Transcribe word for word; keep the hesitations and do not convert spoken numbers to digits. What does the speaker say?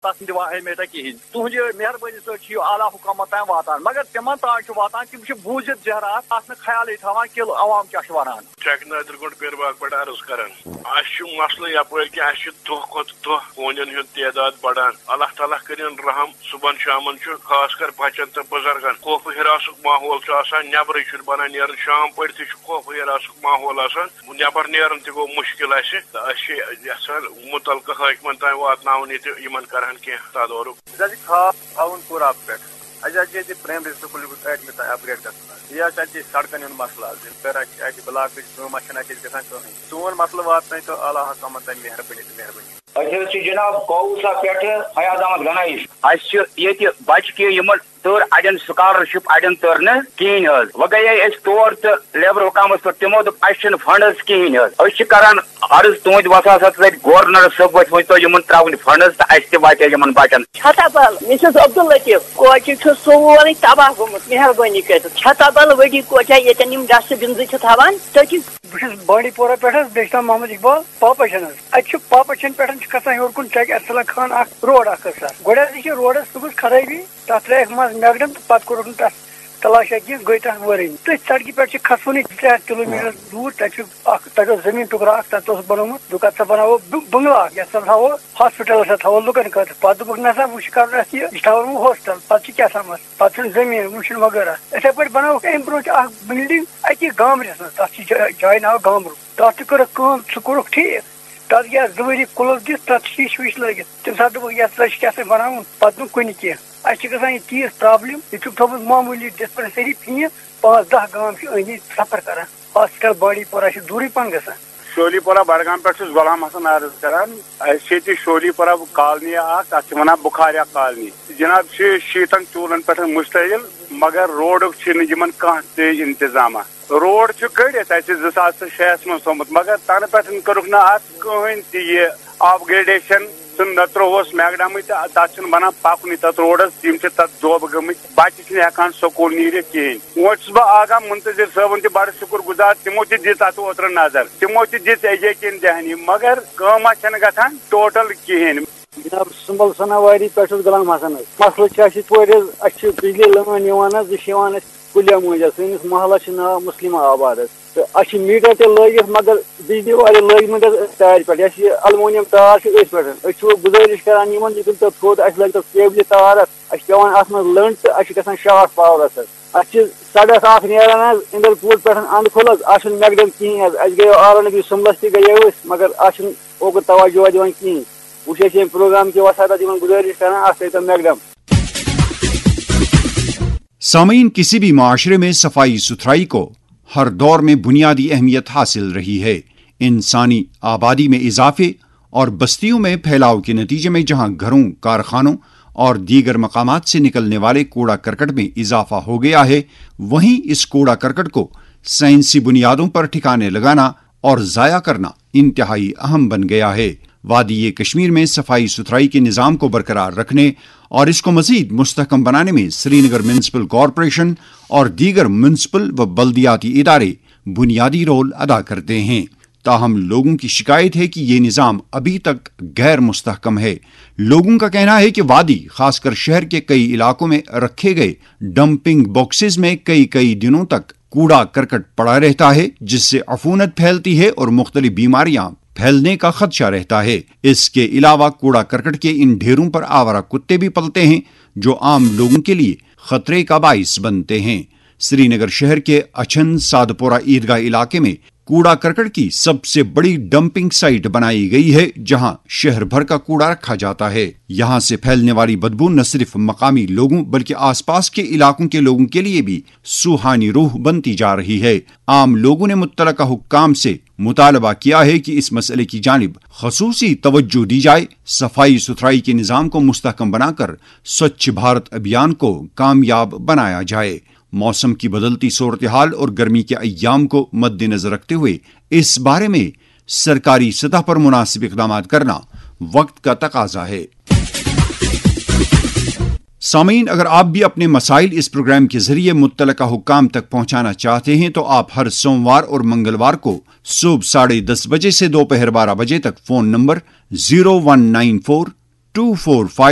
تَتھ نہٕ دِوان اہمیتہ کِہیٖنۍ۔ تُہٕنٛدِ مہربٲنی سۭتۍ چھِ یہِ اعلیٰ حکامَن تام واتان، مگر تِمَن تام چھُ واتان، تِم چھِ بوٗزِتھ زہرات، اَتھ نہٕ خیالٕے تھاوان کہِ عوام کیٛاہ چھُ وَنان۔ ٹھیکہٕ نٲدِر گوٚنٛڈ پیر باغ پٮ۪ٹھ عرض کران۔ اَسہِ چھُ مسلہٕ یَپٲرۍ کہِ اَسہِ چھُ دۄہ کھۄتہٕ دۄہ ہوٗنٮ۪ن ہُنٛد تعداد بڑان۔ اللہ تعالیٰ کٔرِن رحم، صُبحن شامن چھُ خاص کر بچن تہٕ بُزرگن خوف و ہراسُک ماحول چھُ آسان، نٮ۪برٕے چھُنہٕ بنان نیرُن۔ شام پٔرِتھٕے چھُ خوف و ہراسُک ماحول آسان، نٮ۪بر نیرُن تہِ گوٚو مُشکِل اَسہِ۔ تہٕ أسۍ چھِ یژھان مُتعلقہٕ حٲکمن تام واتناوُن یہِ تہٕ یِمن کرہن کینٛہہ تدارُک۔ أسۍ حظ چھِ خاص آوُن پوٗرہ پٮ۪ٹھ۔ اَسہِ حظ چھِ ییٚتہِ پرٛایمری سکوٗل یُس ٲٹھمہِ تام اپگریڈ گژھُن حظ۔ بیٚیہِ حظ چھِ اَتہِ سڑکَن ہُنٛد مسلہٕ حظ۔ یِتھ پٲٹھۍ اَسہِ چھِ اَتہِ بلاکٕچ کٲم، اَسہِ چھَنہٕ اَتہِ گژھان کٕہٕنۍ۔ سون مسلہٕ واتنٲیتو اعلیٰ حکامَن تام مہربٲنی تہٕ مہربٲنی۔ أسۍ حظ چھِ جناب کوثا پٮ۪ٹھٕ فیاض احمد گنایی۔ اَسہِ چھِ ییٚتہِ بَچہٕ کینٛہہ یِمَن تٔر، اَڑٮ۪ن سکالرشپ، اَڑٮ۪ن تٔر نہٕ کِہیٖنۍ حظ۔ وۄنۍ گٔیے أسۍ تور تہٕ لیبر حکامَس پٮ۪ٹھ، تِمو دوٚپ اَسہِ چھِنہٕ فنڈز کِہیٖنۍ حظ۔ أسۍ چھِ کران عرض تُہٕنٛدِ وساطت سۭتۍ گورنر صٲب، وۄنۍ ؤنۍ تو یِمَن ترٛاوٕنۍ فنڈز تہٕ اَسہِ تہِ واتہِ یِمَن بَچَن۔ چھتابل، مسز عبداللطیف، کوچہِ چھُ سورُے تباہ گوٚمُت، مہربٲنی کٔرِتھ۔ چھتابل ؤڈی کوچا ییٚتٮ۪ن یِم ڈسٹ بنزٕ چھِ تھاوان، تٔتی۔ بہٕ چھُس بانڈی پورہ پٮ۪ٹھ حظ، بیٚیہِ چھُ ناو محمد اقبال، پاپا چھَن حظ۔ اَتہِ چھُ پاپا چھَن پٮ۪ٹھ چھُ کھسان ہیوٚر کُن چَکہِ ارسلان خان اَکھ روڈ اَکھ حظ سَر۔ گۄڈٕ حظ یہِ چھِ روڈَس، سُہ گوٚژھ خرٲبی، تَتھ ترٛٲیِکھ منٛز میکڈم تہٕ پَتہٕ کوٚرُکھ نہٕ تَتھ تلاشا کینٛہہ، گٔے تَتھ وٲرٲنی۔ تٔتھۍ سڑکہِ پٮ۪ٹھ چھِ کھسوٕنٕے زٕ ترٛےٚ ہَتھ کِلوٗ میٖٹر دوٗر، تَتہِ چھُ اَکھ، تَتہِ اوس زٔمیٖن ٹُکرٕ اَکھ، تَتھ اوس بَنومُت، دوٚپُکھ، اَتھ سا بَناوو بُ-، بنٛگلہٕ اَکھ، یَتھ سا تھاوو ہاسپِٹلَس سا تھاوو لُکَن خٲطرٕ۔ پَتہٕ دوٚپُکھ، نہ سا، وۄنۍ چھُ کَرُن اَسہِ یہِ، یہِ چھُ تھاوُن وۄنۍ ہاسٹَل، پَتہٕ چھُ کیٛاہ تھامَتھ، پَتہٕ چھُنہٕ زٔمیٖن، وۄنۍ چھُنہٕ وغٲرہ۔ یِتھَے پٲٹھۍ بَنٲوٕکھ اَمہِ برونٛہہ تہِ اَکھ بِلڈِنٛگ أتی گامرِس منٛز، تَتھ چھِ جاے، جایہِ ناو گامرُک۔ تَتھ تہِ کٔرٕکھ کٲم، سُہ کوٚرُکھ ٹھیٖک۔ تَتھ گٔیَس زٕ ؤری کُلُف دِتھ، تَتھ شیٖشہِ ویٖشہِ لٲگِتھ۔ تَمہِ ساتہٕ دوٚپُکھ، یَتھ سا چھِ کیٛاہ سا بَناوُن، پَتہٕ نہٕ کُنہِ کینٛہہ۔ اَسہِ چھِ گژھان یہِ تیٖژ پرٛابلِم، ییٚتہِ چھُکھ تھوٚومُت معموٗلی ڈِسپَنسٔری فیٖس، پانٛژھ دَہ گام چھِ أنٛدۍ أنٛدۍ سفر کَران۔ ہاسپِٹل بانڈی پورہ چھِ دوٗرٕے پَہَن گژھان۔ شولی پورہ بڈگام پٮ۪ٹھ چھُس غلام حسن عرض کران۔ اَسہِ چھِ ییٚتہِ شولی پورہ کالنی اَکھ، اَتھ چھِ وَنان بُخاریا کالنی۔ جِناب، چھِ شیٖتَن چوٗلَن پٮ۪ٹھ مُشتعل، مگر روڈُک چھِنہٕ یِمَن کانٛہہ تہِ اِنتظامہ۔ روڈ چھُ کٔڑِتھ اَسہِ زٕ ساس تہٕ شےٚ ہَس منٛز تھوٚومُت، مگر تَنہٕ پٮ۪ٹھ کٔرٕکھ نہٕ اَتھ کٕہٕنۍ تہِ یہِ اپگریڈیشن۔ سُہ نہ ترٛووُس میکڈمٕے تہٕ تَتھ چھُنہٕ بَنان پَکنُے تَتھ روڈَس، یِم چھِ تَتھ دوبہٕ گٔمٕتۍ، بَچہٕ چھِنہٕ ہٮ۪کان سکوٗل نیٖرِتھ کِہیٖنۍ۔ وۄنۍ چھُس بہٕ آغا منتظر صٲبُن تہِ بَڑٕ شُکُر گُزار، تِمو تہِ دِژ اَتھ اوترٕ نظر، تِمو تہِ دِژ یقیٖن دہانی، مگر کٲمہ چھَنہٕ گژھان ٹوٹل کِہیٖنۍ۔ جناب، سُمبل سناواری پٮ۪ٹھ چھُس غلام حسن حظ۔ مسلہٕ چھُ اَسہِ یِتھ پٲٹھۍ حظ، اَسہِ چھِ بجلی لٲن یِوان حظ، یہِ چھِ یِوان اَسہِ کُلیا مٔنٛزۍ حظ۔ سٲنِس محلس چھُ ناو مسلمہ آباد حظ۔ تہٕ اَسہِ چھِ میٖٹر تہِ لٲگِتھ، مگر بجلی والٮ۪ن لٲگۍ مٕتۍ حظ أتھۍ تارِ پٮ۪ٹھ، یۄس یہِ المونیم تار چھِ أتھۍ پٮ۪ٹھ۔ أسۍ چھِ وۄنۍ گُزٲرِش کران یِمن، یہِ کٔرۍتو تھوٚد، اَسہِ لٲگۍتو کیبلہِ تار اَتھ۔ اَسہِ چھِ پٮ۪وان اَتھ منٛز لٔنٛڈ تہٕ اَسہِ چھِ گژھان شارٹ پاورَس حظ۔ اَسہِ چھِ سڑک اَکھ نیران حظ اِندر کوٗٹ پٮ۪ٹھ اَندٕ کھُل حظ، اَتھ چھُنہٕ میکڈم کِہیٖنۍ حظ۔ اَسہِ گٔیو آلریڈی سُمبلس تہِ گٔیو أسۍ، مگر اَتھ چھُنہٕ اوکُن توجہ دِوان کِہیٖنۍ۔ وۄنۍ چھِ أسۍ ییٚمہِ پروگرام کہِ وساطت یِمن گُزٲرِش کران، اَتھ تھٲیتو میکڈم۔ سامعین، کسی بھی معاشرے میں صفائی ستھرائی کو ہر دور میں بنیادی اہمیت حاصل رہی ہے۔ انسانی آبادی میں اضافے اور بستیوں میں پھیلاؤ کے نتیجے میں جہاں گھروں، کارخانوں اور دیگر مقامات سے نکلنے والے کوڑا کرکٹ میں اضافہ ہو گیا ہے، وہیں اس کوڑا کرکٹ کو سائنسی بنیادوں پر ٹھکانے لگانا اور ضائع کرنا انتہائی اہم بن گیا ہے۔ وادی کشمیر میں صفائی ستھرائی کے نظام کو برقرار رکھنے اور اس کو مزید مستحکم بنانے میں سری نگر میونسپل کارپوریشن اور دیگر میونسپل و بلدیاتی ادارے بنیادی رول ادا کرتے ہیں۔ تاہم لوگوں کی شکایت ہے کہ یہ نظام ابھی تک غیر مستحکم ہے۔ لوگوں کا کہنا ہے کہ وادی، خاص کر شہر کے کئی علاقوں میں رکھے گئے ڈمپنگ باکسز میں کئی کئی دنوں تک کوڑا کرکٹ پڑا رہتا ہے، جس سے عفونت پھیلتی ہے اور مختلف بیماریاں پھیلنے کا خدشہ رہتا ہے۔ اس کے علاوہ کوڑا کرکٹ کے ان ڈھیروں پر آوارہ کتے بھی پلتے ہیں، جو عام لوگوں کے لیے خطرے کا باعث بنتے ہیں۔ سری نگر شہر کے اچھن سادپورہ عیدگاہ علاقے میں کوڑا کرکٹ کی سب سے بڑی ڈمپنگ سائٹ بنائی گئی ہے، جہاں شہر بھر کا کوڑا رکھا جاتا ہے۔ یہاں سے پھیلنے والی بدبو نہ صرف مقامی لوگوں بلکہ آس پاس کے علاقوں کے لوگوں کے لیے بھی سوہانی روح بنتی جا رہی ہے۔ عام لوگوں نے متعلقہ حکام سے مطالبہ کیا ہے کہ اس مسئلے کی جانب خصوصی توجہ دی جائے، صفائی ستھرائی کے نظام کو مستحکم بنا کر سوچھ بھارت ابھیان کو کامیاب بنایا جائے۔ موسم کی بدلتی صورتحال اور گرمی کے ایام کو مد نظر رکھتے ہوئے اس بارے میں سرکاری سطح پر مناسب اقدامات کرنا وقت کا تقاضا ہے۔ سامعین، اگر آپ بھی اپنے مسائل اس پروگرام کے ذریعے متعلقہ حکام تک پہنچانا چاہتے ہیں تو آپ ہر سوموار اور منگلوار کو صبح ساڑھے دس بجے سے دوپہر بارہ بجے تک phone number zero one nine four two four five